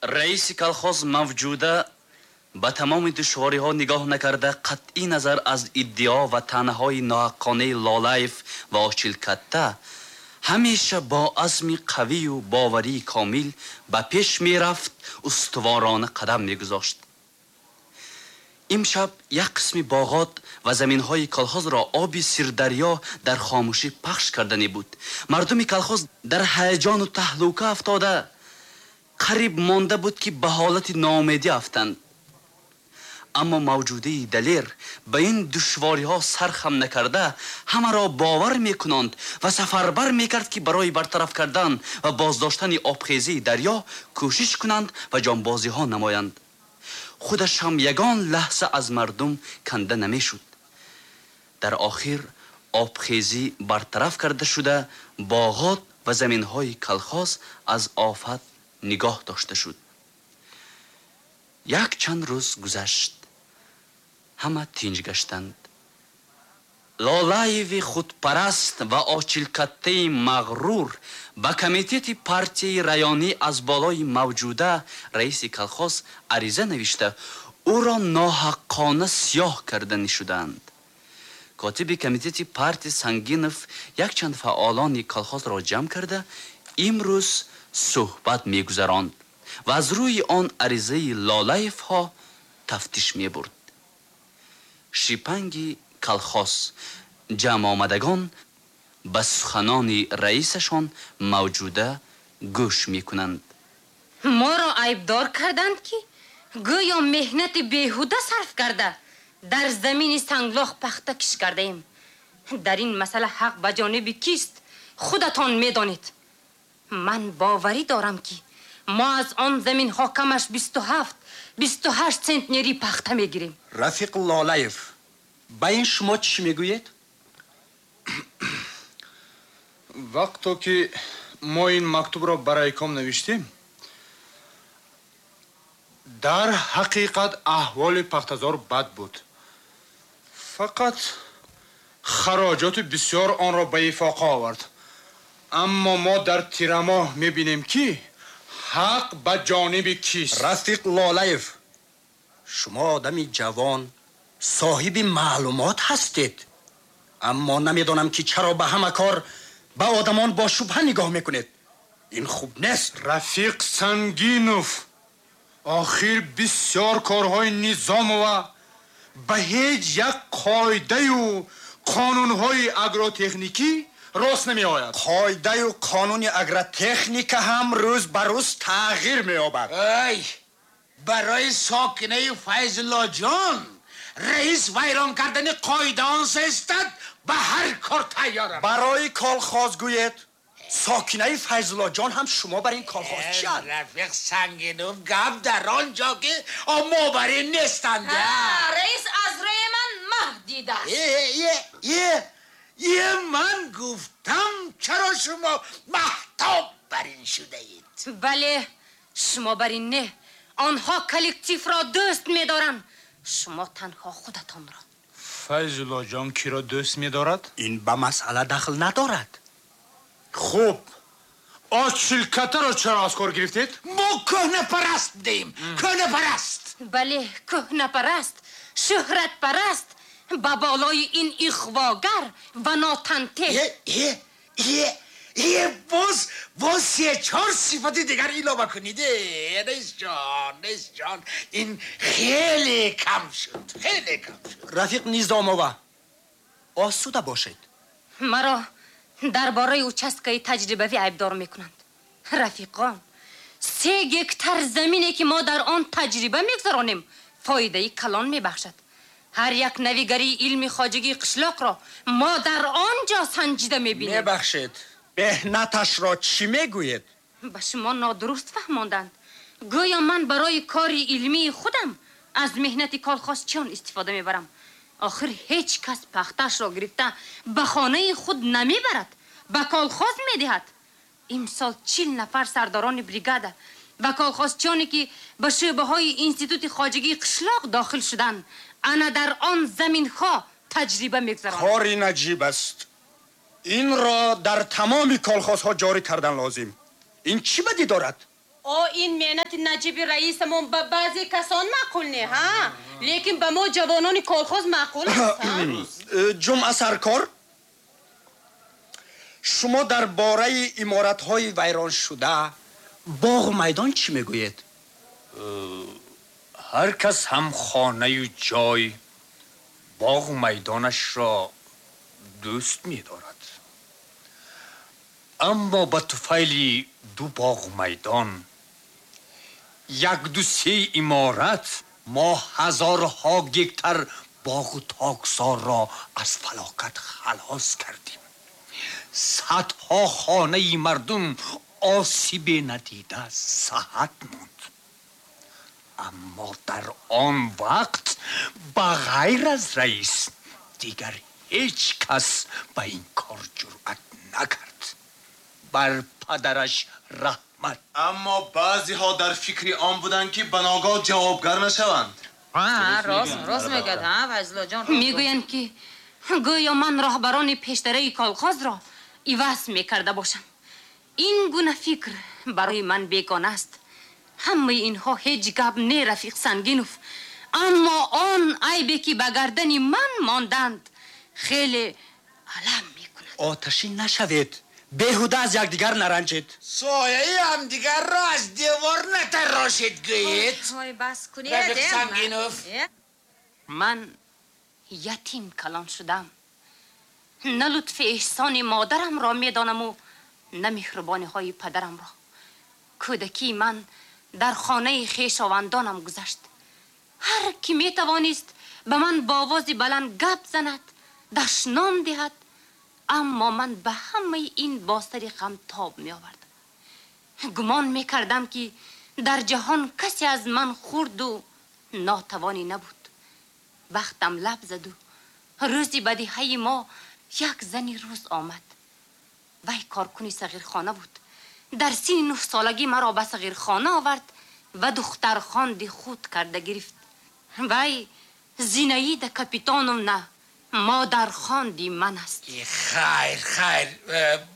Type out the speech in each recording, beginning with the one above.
Раиси колхоз мавҷуда ба тамоми душвориҳо нигоҳ накарда, қатъи назар аз иддао ва таънаҳои ноҳаққонаи Лолаев ва Очилкатта, ҳамеша бо азми қавию боварии комил ба пеш мерафт, устуворона қадам мегузошт. Имшаб як қисми боғот ва заминҳои колхозро оби Сирдарё дар хомӯшӣ пахш кардане буд. Мардуми колхоз дар ҳаяҷону таҳлука афтода, қариб монда буд, ки ба ҳолати ноумедӣ афтанд. Аммо мавҷудаи далер ба ин душвориҳо сархам накарда, ҳамаро бовар мекунонд ва сафарбар мекард, ки барои бартараф кардан ва боздоштани обхезии дарё кӯшиш кунанд ва ҷонбозиҳо намоянд. Худаш ҳам ягон лаҳза аз мардум канда намешуд. Дар охир обхезӣ бартараф карда шуда, боғот ва заминҳои колхоз аз офат нигоҳ дошта шуд. Як чанд рӯз гузашт. Ҳама тинҷ гаштанд. Лолаеви худпараст ва Очилкаттаи мағрур ба комитети партияи районӣ аз болои мавҷуда раиси колхоз ариза навишта, ӯро ноҳаққона сиёҳ карданӣ шуданд. Котиби комитети партия Сангинов якчанд фаъолони колхозро ҷамъ карда, имрӯз суҳбат мегузаронд ва аз рӯи он аризаи Лолаевҳо тафтиш мебурд. Шипанги колхоз ҷамъомадагон ба суханони раисашон мавҷуда гӯш мекунанд. Моро айбдор карданд, ки гӯё меҳнати беҳуда сарф карда, дар замини санглох пахта киш кардаем. Дар ин масъала ҳақ ба ҷониби кист, худатон медонед. Ман боварӣ дорам, ки мо аз он заминҳо камаш 27, 28 центнери пахта мегирем. Рафиқ Лолаев, ба ин шумо чӣ мегӯед? Вақто ки мо ин мактубро ба райком навиштем, дар ҳақиқат аҳволи пахтазор бад буд. Фақат хароҷоти бисёр онро ба ифоқа овард. Аммо мо дар тирамоҳ мебинем, ки ҳақ ба ҷониби кист. Рафиқ Лолаев, шумо одами ҷавон, соҳиби маълумот ҳастед, аммо намедонам, ки чаро ба ҳама кор ба одамон бо шубҳа нигоҳ мекунед. Ин хуб нест. Рафиқ Сангинов, охир бисёр корҳои Низомова ба ҳеҷ як қоидаю қонунҳои агротехникӣ рост намеояд. Қоидаю қонуни агротехника ҳам рӯз ба рӯз тағйир меёбад. Ай, барои сокинаи Файзуллоҷон раис вайрон кардани қоидаон сестад, ба ҳар кор тайёрам. Барои колхоз гӯед, сокинаи Файзуллоҷон ҳам шумо бар ин колхоз чианд? Рафиқ Сангинов, гап дар он ҷо, ки мо бар ин нестанд. Раис аз рӯи ман маҳ дидааст. Е, ман гуфтам, чаро шумо маҳтоб бар ин шудаед? Бале, шумо бар ин не, онҳо коллективро дӯст медоранд, шумо танҳо худатонро. Файзуллоҷон киро дӯст медорад? Ин ба масъала дахл надорад. Хуб, Очилкатаро чаро аз кор гирифтед? Мо кӯҳнапараст будем, кӯҳнапараст. Бале, кӯҳнапараст, шӯҳратпараст, ба болои ин иғвогар ва нотантеҳ. Е, боз се чор сифати дигар илова кунед. Раисҷон, раисҷон, ин хеле кам шуд, хеле кам шуд. Рафиқ Низомова, осуда бошед. Маро дар бораи участкаи таҷрибавӣ айбдор мекунанд. Рафиқон, 3 гектар замине, ки мо дар он таҷриба мегузаронем, фоидаи калон мебахшад. Ҳар як навигарии илми хоҷагии қишлоқро мо дар он ҷо санҷида мебинем. Мебахшед, меҳнаташро чӣ мегӯед? Ба шумо нодуруст фаҳмонданд. Гӯё ман барои кори илмии худам аз меҳнати колхозчиён истифода мебарам. Охир ҳеҷ кас пахтаашро гирифта ба хонаи худ намебарад, ба колхоз медиҳад. Имсол 40 нафар сардорони бригада ва колхозчионе, ки ба шӯъбаҳои институти хоҷагии қишлоқ дохил шуданд, ана дар он заминҳо таҷриба мегузаронанд. Кори наҷиб аст. Инро дар тамоми колхозҳо ҷорӣ кардан лозим. Ин чӣ бадӣ дорад? Ин меҳнати наҷиби раисамон ба баъзе касон маъқул не, ҳа? Лекин ба мо ҷавонони колхоз маъқул аст. Ҷумъа саркор, шумо дар бораи иморатҳои вайроншуда, боғу майдон чӣ мегӯед? Ҳар кас ҳам хонаю ҷой, боғу майдонашро дӯст медорад. Аммо ба туфайли ду боғу майдон, як-ду се иморат, мо ҳазорҳо гектар боғу токзорро аз фалокат халос кардем. Садҳо хонаи мардум осибе надида саҳат монд. Аммо дар он вақт ба ғайр аз раис дигар ҳеҷ кас ба ин кор ҷуръат накард. Бар падараш раҳмат. Аммо баъзеҳо дар фикри он буданд, ки ба ногоҳ ҷавобгар нашаванд. Рост мегӯяд, Файзуллоҷон. Мегӯянд, ки гӯё ман роҳбарони пештараи колхозро иваз мекарда бошам. Ин гуна фикр барои ман бегона аст. Ҳамаи инҳо ҳеҷ гап не, рафиқ Сангинов. Аммо он айбе, ки ба гардани ман монданд, хеле алам мекунад. Оташин нашавед, беҳуда аз якдигар наранҷед. Сояи ҳамдигарро аз девор натарошед, гӯед. Ой, бас кунед. Рафиқ Сангинов. Ман ятим калон шудам. На лутфи эҳсони модарамро медонаму на меҳрубониҳои падарамро. Кӯдакии ман дар хонаи хешовандонам гузашт. Ҳар ки метавонист ба ман бо овози баланд гап занад, дашном диҳад, аммо ман ба ҳамаи ин бо сари ғам тоб меовардам. Гумон мекардам, ки дар ҷаҳон касе аз ман хурду нотавонӣ набуд. Бахтам лаб заду рӯзи бадиҳаи мо як зани рӯз омад. Вай коркуни сағирхона буд. Дар синни 9 солагӣ маро ба сағирхона овард ва духтархонди худ карда гирифт. Вай Зинаида Капитоновна модархонди ман аст. Хайр, хайр,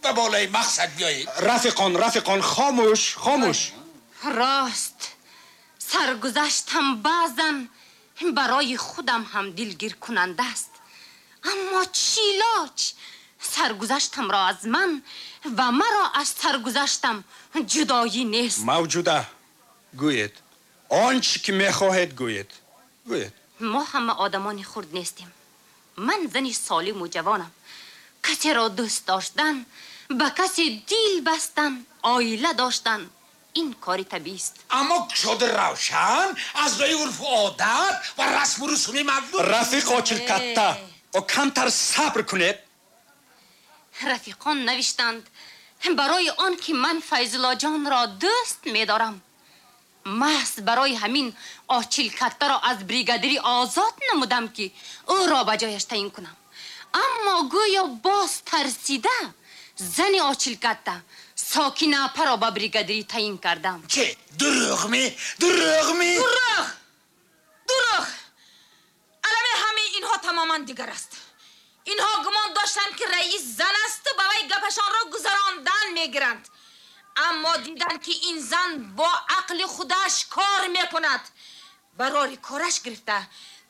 ба болои мақсад биёед. Рафиқон, рафиқон, хомӯш, хомӯш. Рост, саргузаштам баъзан барои худам ҳам дилгиркунанда аст. Аммо чӣ лоҷ, саргузаштамро аз ман ва маро аз саргузаштам ҷудоӣ нест. Мавҷуда, гӯед, он чӣ ки мехоҳед, гӯед, гӯед. Мо ҳама одамони хурд нестем. Ман зани солиму ҷавонам. Касеро дӯст доштан, ба касе дил бастан, оила доштан — ин кори табиист. Аммо кушоду равшан, аз рӯи урфу одат ва расму русуми мардум. Рафиқ Очилкатта, камтар сабр кунед. Рафиқон навиштанд, барои он ки ман Файзуллоҷонро дӯст медорам, маҳз барои ҳамин Очилкаттаро аз бригадирӣ озод намудам, ки ӯро ба ҷояш таъин кунам. Аммо гӯё боз тарсида, зани Очилкатта Сокина апаро ба бригадирӣ таъин кардам. Чӣ, дурӯғ ми, дурӯғ ми? Дурӯғ, дурӯғ! Алами ҳамаи инҳо тамоман дигар аст. Инҳо гумон доштанд, ки раис зан асту ба вай гапашонро гузарондан мегиранд. Аммо диданд, ки ин зан бо ақли худаш кор мекунад. Барори кораш гирифта,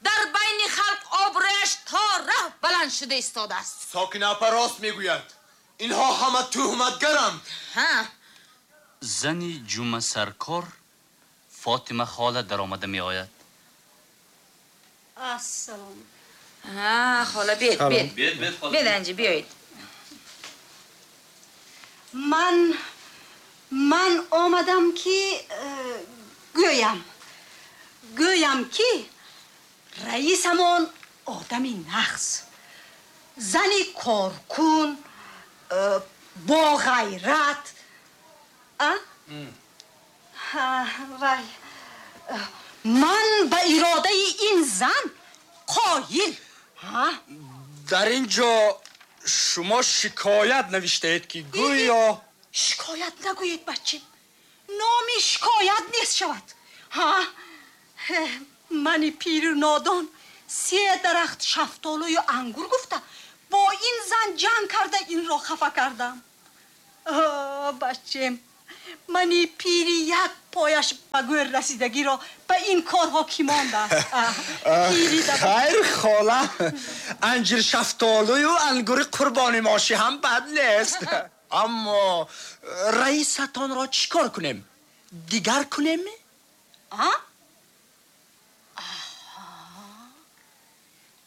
дар байни халқ обрӯяш то раҳ баланд шуда истодааст. Сокина апа рост мегӯяд. Инҳо ҳама туҳматгаранд. Ҳа. Зани Ҷума саркор Фотима хола даромада меояд. Ассалом. Хола, бед, бед. Бед, бед, хола. Бед, анҷи биёед. Ман омадам, ки гӯям, ки раисамон одами нағз, зани коркун, боғайрат. Вай, ман ба иродаи ин зан қоил. Дар ин ҷо шумо шикоят навиштаед, ки гӯё Шикоят нагӯед, бачим, номи шикоят нест шавад. Ҳа, мани пиру нодон се дарахт шафтолую ангур гуфта, бо ин зан ҷанг карда, инро хафа кардам. Бачем. Мани пири як пояш ба гӯр расидагиро ба ин корҳо кӣ мондааст? Хайр, хола, анҷир шафтолую ангури қурбони мошӣ ҳам бад нест. Аммо раисатонро чӣ кор кунем? Дигар кунем?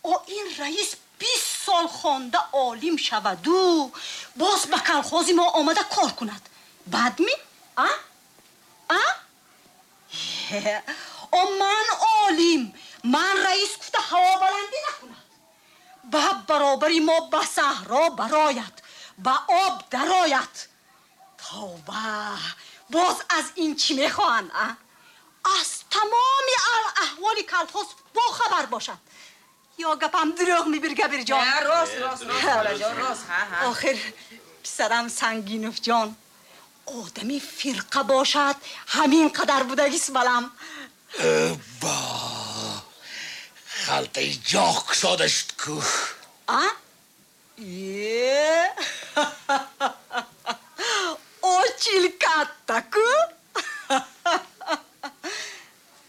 О, ин раис 20 сол хонда олим шаваду боз ба колхози мо омада кор кунад. Бад ми? А? А? О, ман олим, ман раис гуфта ҳавобаландӣ накунад. Ба баробари мо ба саҳро барояд, ба об дарояд. Тавба, боз аз ин чӣ мехоҳанд? А? Аз тамоми аҳволи колхоз бохабар бошад. Ё гапам дурӯғ мебир, Габирҷон? Рост, рост, рост, холаҷон, рост. Охир писарам Сангиновҷон одами фирқа бошад, ҳамин қадар будагист балам. Ба халтаи ҷоғ кушода шуд ку. А? Е? Очил катта ку?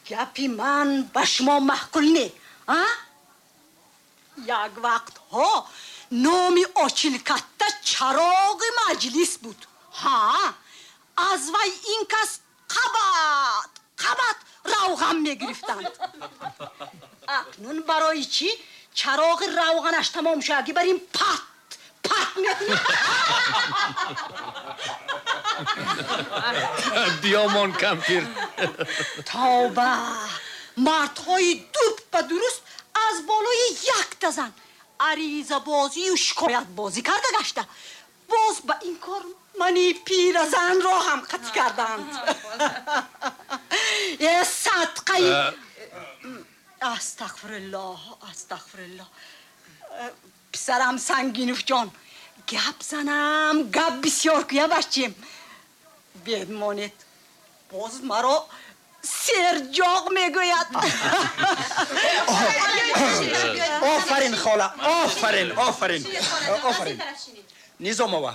Гапи ман ба шумо маъқул не, а? Як вақтҳо номи Очилкатта чароғи маҷлис буд. Ҳа, аз вай ин кас қабат қабат равған мегирифтанд. Акнун барои чӣ чароғи равғанаш тамом шудаги бар ин пат пат мекунад? Биёмон, кампир. Тавба, мардҳои дуб ба дуруст аз болои якта зан аризабозию шикоятбозӣ карда гашта, боз ба ин кор мани пиразанро ҳам қатъ карданд. Э, садқаи, астағфируллоҳ, астағфируллоҳ. Писарам Сангиновҷон, гап занам, гап бисёр куя бачим. Бедмонед, боз маро серҷоғ мегӯяд. Офарин, хола, офарин, офарин, офарин. Низомова,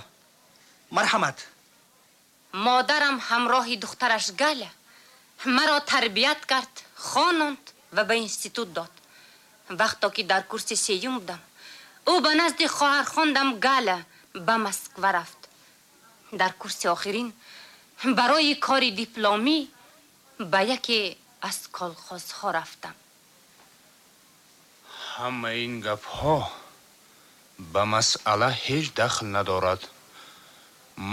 марҳамат. Модарам ҳамроҳи духтараш Галя маро тарбият кард, хононд ва ба институт дод. Вақто ки дар курси сеюм будам, ӯ ба назди хоҳархондам Галя ба Москва рафт. Дар курси охирин барои кори дипломӣ ба яке аз колхозҳо рафтам. Ҳамаи ин гапҳо ба масъала ҳеҷ дахл надорад.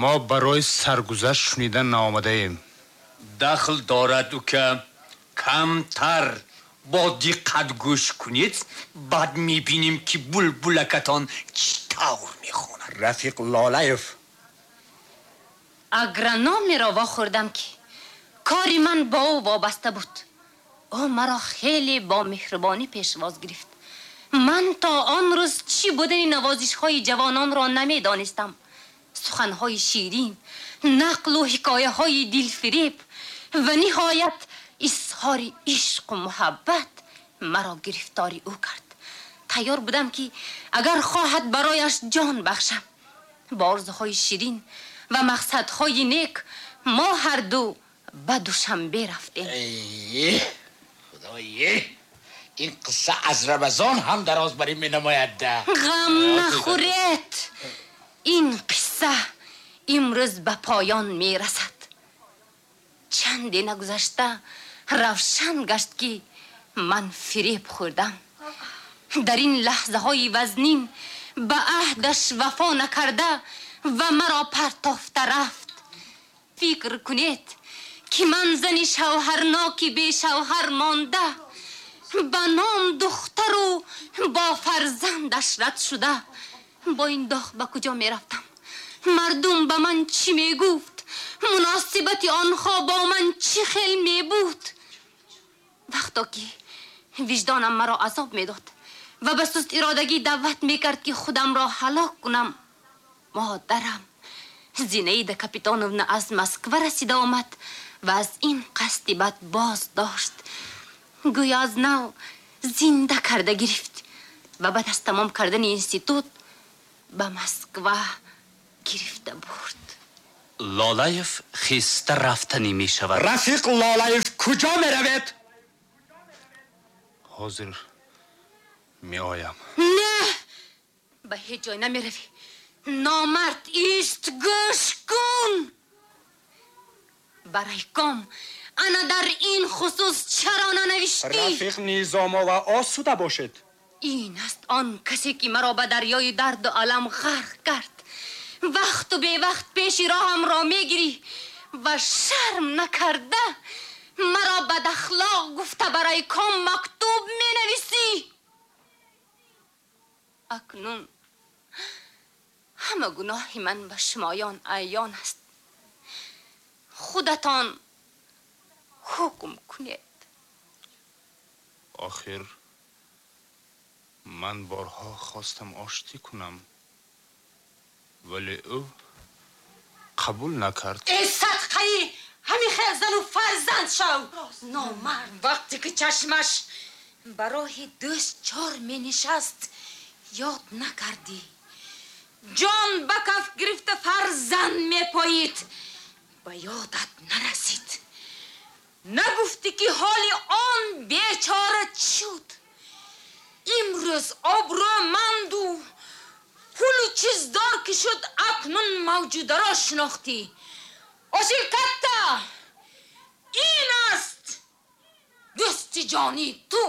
Мо барои саргузашт шунида наомадаем. Дахл дорад, ука. Камтар бо диққат гӯш кунед, баъд мебинем, ки булбулакатон чӣ тавр мехонад. Рафиқ Лолаев. Агрономеро вохӯрдам, ки кори ман бо ӯ вобаста буд. Ӯ маро хеле бо меҳрубонӣ пешвоз гирифт. Ман то он рӯз чӣ будани навозишҳои ҷавононро намедонистам. Суханҳои ширин, нақлу ҳикояҳои дилфиреб ва ниҳоят изҳори ишқу муҳаббат маро гирифтори ӯ кард. Тайёр будам, ки агар хоҳад, барояш ҷон бахшам. Бо орзуҳои ширин ва мақсадҳои нек мо ҳарду ба Душанбе рафтем. Худое, ин қисса аз Рамазон ҳам дароз барӣ менамояд. Ғам нахӯред, ин қисса имрӯз ба поён мерасад. Чанде нагузашта равшан гашт, ки ман фиреб хӯрдам. Дар ин лаҳзаҳои вазнин ба аҳдаш вафо накарда ва маро партофта рафт. Фикр кунед, ки ман зани шавҳарноки бешавҳар монда, ба ном духтару бо фарзандаш рад шуда, бо ин доғ ба куҷо мерафтам? Мардум ба ман чӣ мегуфт? Муносибати онҳо бо ман чӣ хел мебуд? Вақто ки виҷдонам маро азоб медод ва ба суст иродагӣ даъват мекард, ки худамро ҳалок кунам, модарам Зинаида Капитоновна аз Москва расида омад ва аз ин қасди бад боз дошт. Гӯё аз нав зинда карда гирифт ва баъд аз тамом кардани институт ба Москва гирифта бурд. Лолаев хеста рафтанӣ мешавад. Рафиқ Лолаев, куҷо меравед? Ҳозир меоям. Не, ба ҳеҷ ҷой намеравӣ. Номард, ист, гӯш кун. Ба райком ана дар ин хусус чаро нанавиштӣ? Рафиқ Низомова, осуда бошед. Ин аст он касе ки маро ба дарёи дарду алам ғарқ кард. Вақту бевақт пеши роҳамро мегирӣ ва шарм накарда маро бадахлоқ гуфта ба райком мактуб менависӣ. Акнун ҳама гуноҳи ман ба шумоён аён аст. Худатон ҳукм кунед. Охир ман борҳо хостам оштӣ кунам, вале ӯ қабул накард. Эй садқаи ҳамин хел зану фарзанд шав, номард. Вақте ки чашмаш ба роҳи дӯст чор менишаст, ёд накардӣ. Ҷон ба каф гирифта фарзанд мепоид, ба ёдат нарасид. Нагуфтӣ ки ҳоли он бечора чӣ шуд. Имрӯз обрӯманду пулу чиздор ки шуд, акнун мавҷударо шинохтӣ. Осил катта, ин аст дӯсти ҷонии ту.